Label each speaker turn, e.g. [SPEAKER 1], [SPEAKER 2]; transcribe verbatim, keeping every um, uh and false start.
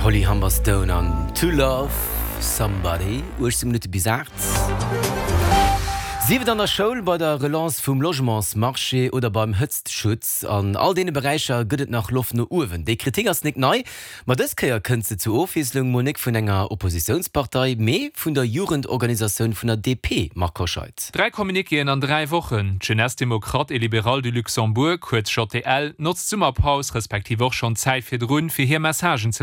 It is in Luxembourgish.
[SPEAKER 1] Holly Humberstone an To Love Somebody uechtzéng Minutte bis aacht. Sief et an der Schoul, bei der Relance vum Logementsmarché oder beim Hëtztschutz, an all deene Beräicher gëtt et nach Loft no uewen. Déi Kritik ass nik nei, ma dës Kéier kënnt se zur Ofwiesslung mol nik vun enger Oppositiounspartei, mee vun der Jugendorganisatioun vun der D P, Marc Hoscheid.
[SPEAKER 2] Dräi Communiquéen an dräi Wochen. D'Jeunesse démocrate et libérale du Luxembourg, kuerz J D L, notzt d'Summerpaus, respektiv och schonn d'Zäit virdrun, fir hir Messagen ze